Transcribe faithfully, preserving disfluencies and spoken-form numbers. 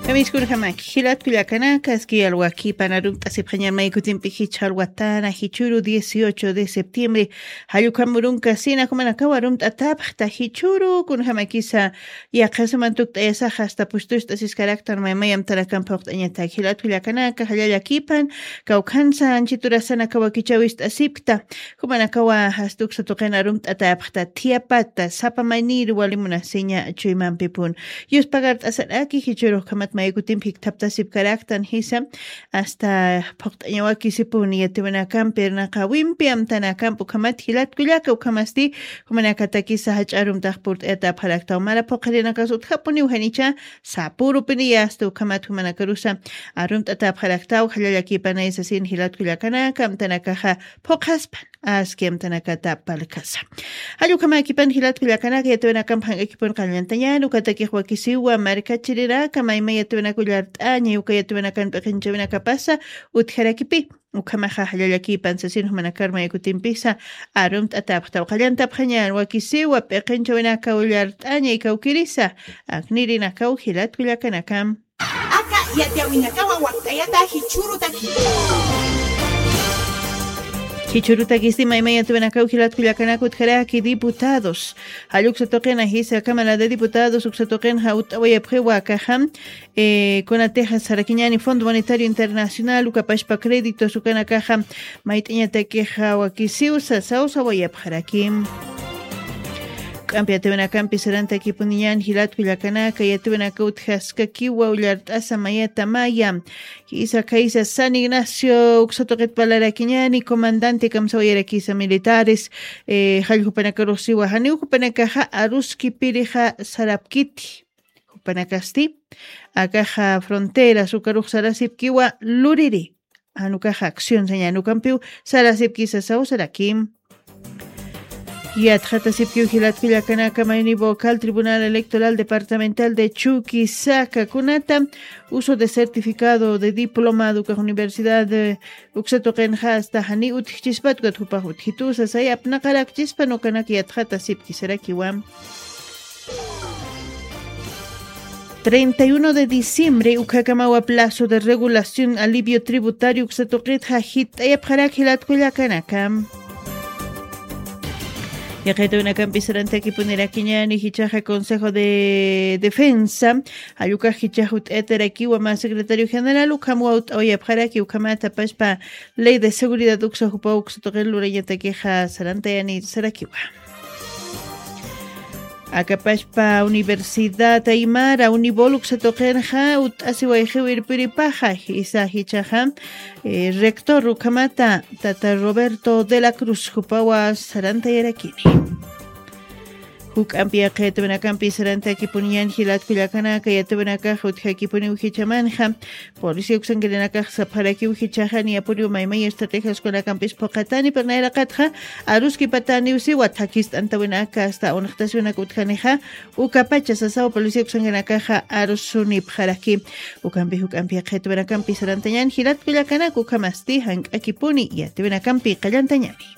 Kamiskunjamaki jilat kullakanaka, aski alwakipan arumt'asipxañan maykutimpi jichha alwatana jichhuru dieciocho de septiembre, jallukam urunkasina jumanakaw arumt'atapxta jichhuru kunjamakisa yaqhasuman tukt'ayasaxa asta pustust'asiskaraktan maymay amtanakampi juqt'añatak jilat kullakanaka, jallallakipan kawkhansa anchiturasanaka wakichawist'asipkta. Jumanakawa jastuksa tuqin arumt'atapxta thiyapata sapa maynir wali munasiña chuymampipun. Yuspagart'asaraki jichhurux ukhamat maykutimpi jikthaptasipkaraktan jisa, asta phuqt'añawakisipun yatiwinakampi irnaqawimpi amtanakampi ukhamat jilat kullaka ukhamasti jumanakatakisa jach'a arumtax purt'ayatapxaraktaw mara phuqirinakas utjapuniw janicha sapurupiniya asta ukhamat jumanakarusa arumt'atapxaraktaw jallallakipanay sasin jilat kullakanaka amtanakaxa phuqhaspan aski amtanakata palkasa. Jallukamakipan jilat kullakanaka yatiwinakamp jank'akipun qallantañan ukatakix wakisiwa markachirinaka mayma yatiwinaka ullart'aña uka yatiwinakan p'iqinchawinakapasa utjarakipi. Ukhamaxa jallallakipan sasin jumanakar maykutimpisa arumt'atapxtaw qallantapxañan wakisiwa p'iqinchawinaka ullart'aña ikawkirisa aknirinakaw jilat kullakanakam. Aka yatiyawinakawa wakt'ayata jichhurutaki. Jichhurutakisti mayma yatiwinakaw jilat kullakanaka utjaraki diputados. Jalluksa tuqina jisa Cámara de Diputados uksa tuqinxa ut'awayapxiwa akaxam. Kunatixa sarakiñani Fondo Monetario Internacional ukapashpa créditos ukanakaxa mayt'iñatakixa wakisiw sasawsawayapxarakim. K'ampi yatiwinakampi sarantakipuniñan jilat kullakanaka yatiwinaka utjaskakiwa ullart'asa mayata maya. Jisa khaysa San Ignacio uksa tuqit parlarakiñani comandante kamsawayarakisa militares. Jalljupanakaruxsiwa janiw jupanakaxa aruskipirixa sarapkiti. Jupanakasti akaxa fronteras ukarux sarasipkiwa luriri. Anukaxa acción sañanukampiw sarasipkisa sawsarakim. Yatxatasipkiw jilat kullakanaka mayni vocal tribunal electoral departamental de chuquisaca kunata uso de certificado de diplomado ukax universidad. Uksa tuqinxa asta jani utjchispat ukat jupax utjitusa say apnaqarakchispan ukanak yatxatasipkisarakiwa. Treinta y uno de diciembre ukhakamawa plazo de regulación alivio tributario uksa tuqitxa jit'ayapxarak jilat kullakanaka. Yaqaytawinakampi sarantakipunirakiñani jichhaxa Consejo de Defensa jallukax jichhax ut'ayatarakiwa mä secretario general ukham wawt'awayapxaraki ukhamat apashpa ley de seguridad uksa jupaw uksa tuqin lurañatakixa sarantayani sarakiwa. Akapashpa Universidad Aymara Unibol uksa tuqinxa ut'asiwayxiw irpiripaxa jisa jichhaxa rector ukhamata tata Roberto de la Cruz jupawa sarantayarakini. Juk'ampi yaqha yatiwinakampi sarantakipuniñan jilat kullakanaka yatiwinakax utjakipuniw jichhamanxa. Policía uksankirinakax sapxarakiw jichhaxa niyapuniw maymay estrategiaskunakampis phuqatani pero nayraqatxa aruskipataniw siwa thakist'antawinaka asta unxtasiwinaka utjanixa. Ukapacha sasaw policía uksankirinakaxa arusunipxaraki. Ukampi juk'ampi yaqha yatiwinakampi sarantañan jilat kullakanaka ukhamasti jank'akipuni yatiwinakampi qallantañani.